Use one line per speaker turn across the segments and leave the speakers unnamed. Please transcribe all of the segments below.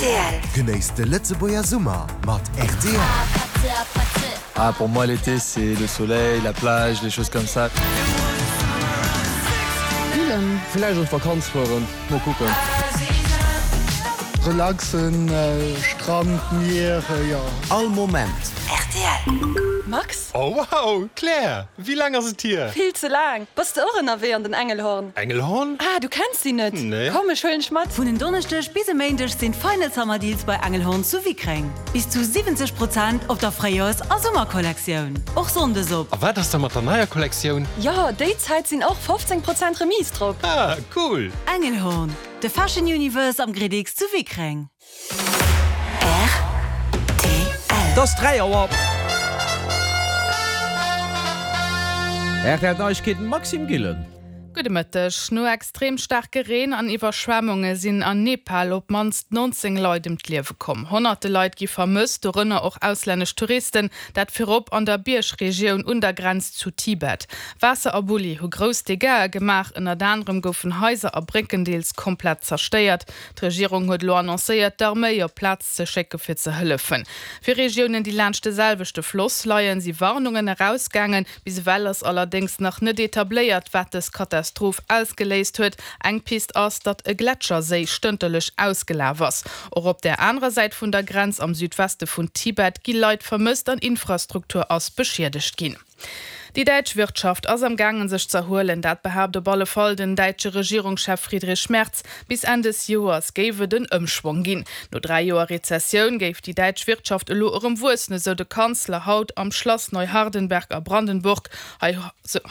Rtl. Genéisst de Lëtzebuerger Summer mat rtl.
Ah pour moi l'été c'est le soleil, la plage, les choses comme ça.
Grillen.
Villäicht an d'Vakanz fueren, mol kucken.
Relaxen, Strand, Mier, jo.
All Moment.
Rtl.
Max?
Oh wow, Claire, wéi laang ass et hier?
Vill ze laang! Bass de och ënnerwee an den Engelhorn?
Engelhorn?
Ah, du kenns si net?
Nee.
Komm, ech huelen dech mat!
Vun en Donneschdeg bis e Méindeg sinn d'Final Summer Deals bei Engelhorn zu Wickreng. Bis zu 70 Prozent op der Fréijoers a Summerkollektioun. Och Sonndes op.
A wat ass da mat der neier Kollektioun?
Jo, déi Zäit sinn och 15 Prozent Remise drop!
Ah, cool!
Engelhorn, de Fashion Universe am Gridix zu Wickreng.
Rtl.
Et ass 3 Auer. RTL Neiegkeeten, Maxime Gillen.
Gudde Mëtteg. No extrem staarke Reen an Iwwerschwemmunge sinn an Nepal op d'mannst 19 Leit ëm d'Liewe komm. Honnerte Leit gi vermësst, dorënner och auslännesch Touristen, dat virop an der Biergregioun un der Grenz zu Tibet. Waasser a Bulli hu grouss Dégâtsë gemaach, ënnert anerem goufen Haiser a Brécken deels komplett zerstéiert. D'Regierung huet elo annoncéiert, d'Arméi op d'Plaz ze schécke fir ze hëllefen. Fir Regiounen, déi laanscht de selwechte Floss leien, si Warnungen erausgaangen. Bis ewell ass allerdéngs nach net etabléiert, wat dës Katastroph ausgeléist huet. Eng Pist ass, datt e Gletscherséi stënterlech ausgelaf ass. Och op der anerer Säit vun der Grenz, am Südweste vun Tibet, gi Leit vermësst an Infrastruktur ass beschiedegt ginn. Déi däitsch Wirtschaft ass am gaangen sech z'erhuelen, dat behaapt op alle Fall den däitsche Regierungschef Friedrich Merz. Bis Enn des Joers géif et en Ëmschwong ginn. No 3 Joer Rezessioun géif déi däitsch Wirtschaft elo erëm wuessen, esou de Kanzler haut am Schlass Neuhardenberg a Brandenburg. Hei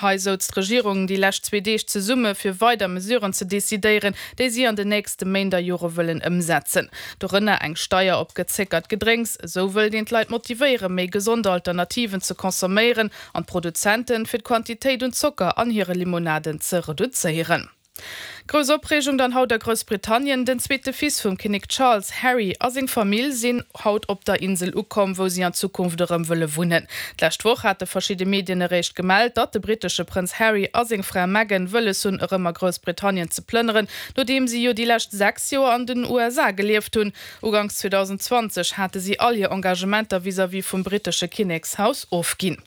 hei souz d'Regierung déi lescht zwee Deeg zesumme fir weider Mesuren ze decidéieren, déi si an den nächste Méint a Jore wëllen ëmsetzen. Dorënner eng Steier op gezéckert Gedrénks. Esou wëllt een d'Leit motivéieren, méi gesond Alternativen ze consomméieren an d'Produzenten, fir d'Quantitéit un Zocker an hire Limonaden ze reduzéieren. Grouss Opreegung dann haut a Groussbritannien, Den zweete Fils vum Kinnek Charles, Harry, a seng Famill sinn haut op der Insel ukomm, wou si an Zukunft erëm wëlle wunnen. D'lescht Woch hate verschidde Medien eréischt gemellt, datt de brittesche Prënz Harry a seng Fra Meghan wëlles hunn, erëm a Groussbritannien ze plënneren, nodeem si jo déi lescht 6 Joer an den USA gelieft hunn. Uganks 2020 hate si all hir Engagementer vis-à-vis vum brittesche Kinnekshaus ofginn.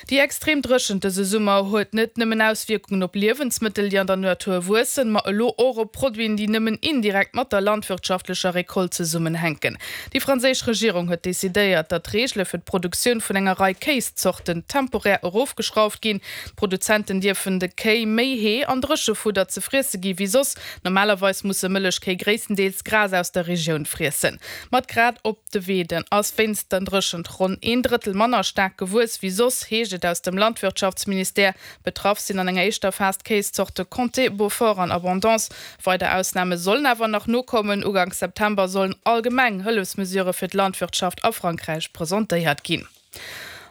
Déi extrem Dréchent dëse Summer huet net nëmmen Auswierkungen op Liewensmëttel, déi an der Natur wuessen, ma elo och op Produiten, déi nëmmen indirekt mat der landwirtschaftlecher Recolte zesummenhänken. Déi franséisch Regierung huet decidéiert, datt d'Reegele fir d'Produktioun vun enger Rei Kéiszorten temporär erofgeschrauft ginn. D'Produzenten dierfen de Kéi méi Hee an Dréchefudder ze friesse gi wéi soss. Normalerweis musse Mëllechkéi gréisstendeels Gras aus der Regioun friessen. Mat Grad op de Weeden ass wéinst der Dréchent ronn een Drëttel manner staark gewuess wéi soss, heescht et aus dem Landwirtschaftsministère. Betraff sinn an enger éischter Phas d'Kéiszorte Comté, Beaufort an Abondance. Weider Ausname sollen awer nach nokommen. Uganks September sollen allgemeng Hëllefsmesurë fir d'Landwirtschaft a Frankräich presentéiert ginn.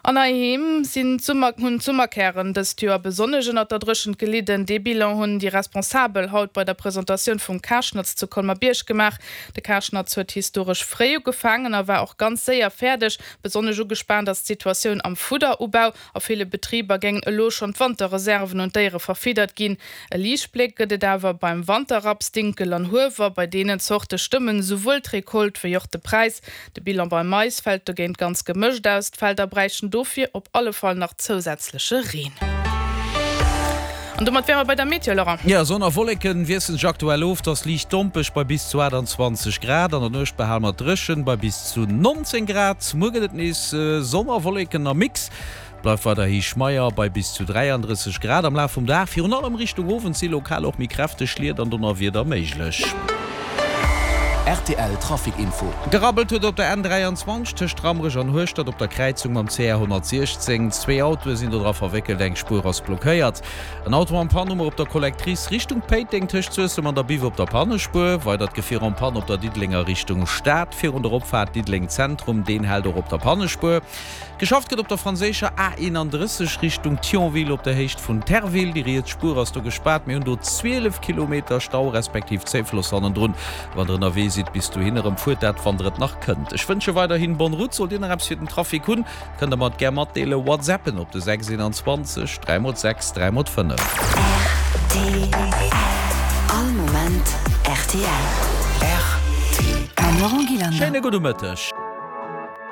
An heiheem sinn d'Summer hunn d'Summerkären dëst Joer besonnesch ënnert der Dréchent gelidden. Dee Bilan hunn déi Responsabel haut bei der Presentatioun vum Karschnatz zu Colmer-Bierg gemaach. De Karschnatz huet historesch fréi ugefaangen a war och ganz séier fäerdeg. Besonnesch ugespaant ass d'Situatioun am Fudderubau. A ville Betriber géingen elo schonn d'Wanterreserven un d'Déiere verfiddert ginn. E Liichtbléck gëtt et awer beim Wanterraps, Dinkel an Huewer. Bei deenen Zorte stëmmen esouwuel d'Recolte wéi och de Präis. De Bilan beim Mais fält dogéint ganz gemëscht aus, d'Felder bräichten dofir op alle Fall nach zousätzleche Reen. An domat wäre mer bei der Meteo, Laurent.
Jo, Sonn a Wolleken wiesselen sech aktuell of, et ass liicht dompeg bei bis zu 28 Grad. An der Nuecht behale mer et dréchen bei bis zu 19 Grad. Muer gëtt et nees Sonn a Wolleken am Mix. Bleift weiderhi schmeier bei bis zu 33 Grad am Laf vum Dag. Virun allem Richtung Owend si lokal och méi kräfteg Schliet an Donnerwieder méiglech.
Rtl Trafic Info.
Gerabbelt huet op der N 23 tëscht Rammerech an Hueschtert op der Kräizung mam CR 116. Zwee Autoe sinn do dra verwéckelt, eng Spuer ass blockéiert. En Auto en panne hu mer op der Collectrice Richtung Péiteng tëscht Suessem an der Biff op der Pannespuer. Weidert Gefier en panne op der Diddelenger Richtung Stad virun der Opfaart Diddeleng Zentrum, deen hält och op der Pannespuer. Geschafft gëtt op der franséischer A 31 Richtung Thionville op der Héicht vun Terville. Déi riets Spuer ass do gespaart. Mir hunn do 12 Kilometer Stau respektiv Zéifloss hannendrun. Wann der ënnerwee sidd bis dohin erëm, fuert dat wann der et nach kënnt. Ech wënsche weiderhin bonne route. Sollt dir nach eppes fir den Trafic hunn, kënnt der mer et gär matdeelen. Whatsappen op de 6 21 3 x 6 3 x 5.
Rtl. All Moment rtl.
Rtl.
Mam Laurent.
Schéine gudde Mëtteg.